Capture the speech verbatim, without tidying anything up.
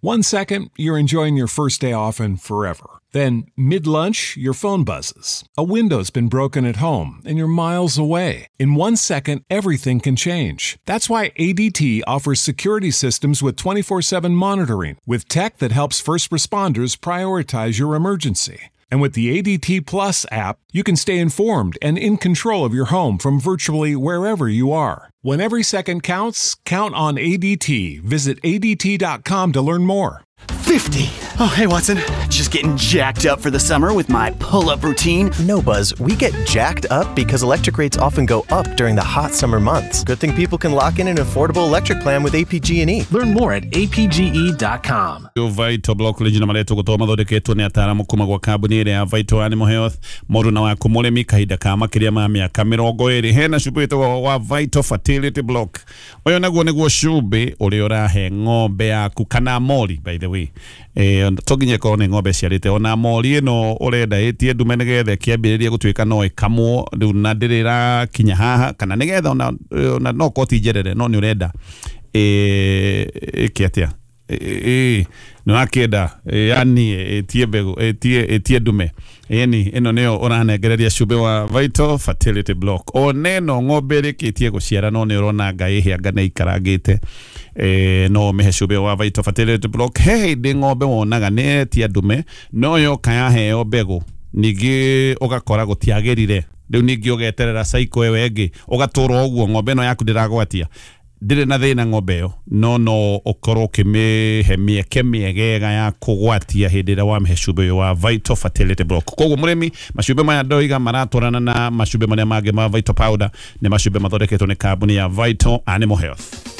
One second, you're enjoying your first day off and forever. Then, mid-lunch, your phone buzzes. A window's been broken at home, and you're miles away. In one second, everything can change. That's why A D T offers security systems with twenty-four seven monitoring, with tech that helps first responders prioritize your emergency. And with the A D T Plus app, you can stay informed and in control of your home from virtually wherever you are. When every second counts, count on A D T. Visit A D T dot com to learn more. fifty. Oh, hey, Watson. Just getting jacked up for the summer with my pull-up routine. No, Buzz. We get jacked up because electric rates often go up during the hot summer months. Good thing people can lock in an affordable electric plan with A P G and E. Learn more at A P G E dot com. Vital Block Legend maretwo gũkorwo mathondeketwo nĩ ataaramu kuma gwa kambuni ĩrĩa ya Vital Animal Health mũndũ na waku mũrĩmi kahinda ka makĩria ma mĩaka mĩrongo ĩrĩ. Hena cumbĩ wĩtagwo wa Vital Fertility Block. Ũyũ naguo nĩguo cumbĩ ũrĩa ũrahe ng'ombe yaku kana mori, by the way. Eh, to nginya ĩkorwo nĩ ng'ombe ciarĩte ona mori ĩno ũrenda ĩtie ndume nĩgetha ĩkĩambĩrĩrie gũtuĩka no ĩkamwo rĩu na ndĩrĩ ĩrakinya haha kana nĩgetha ona, ona no korwo ti njerere no nĩ ũrenda ĩke atĩa ĩ nĩ wakĩenda yani ĩtie mbegũ ĩtie ĩtie ndume yani ĩno nĩyo ũranengereria cumbĩ wa Vital Fertility Block. Ona ĩno ng'ombe ĩrĩkĩtie gũciara no nĩ ũrona ngai ĩhĩanga nĩ ikarangĩte eh, no ũmĩhe cumbĩ wa Vital Fertility Block. He hĩndĩ ng'ombe wonaga nĩ ĩretia ndume no yoka yaheo mbegũ ningĩ ũgakora gũtiagĩrire rĩu ningĩ ũgeterera cycle ĩyo ĩngĩ ũgatũra ũguo ng'ombe ĩno yaku ndĩragwatia ndĩrĩ na thĩna ng'ombe ĩyo no no ũkorwo ũkĩmĩhe mĩeke mĩegega ya kũgwatia hĩndĩ ĩrĩa wamĩhe cumbĩ ũyũ wa Vital Fertility Block. Koguo mũrĩmi macumbĩ maya ndoiga maratwarana na macumbĩ marĩa mangĩ ma Vital Powder nĩ macumbĩ mathondeketwo nĩ kambuni ya Vital Animal Health.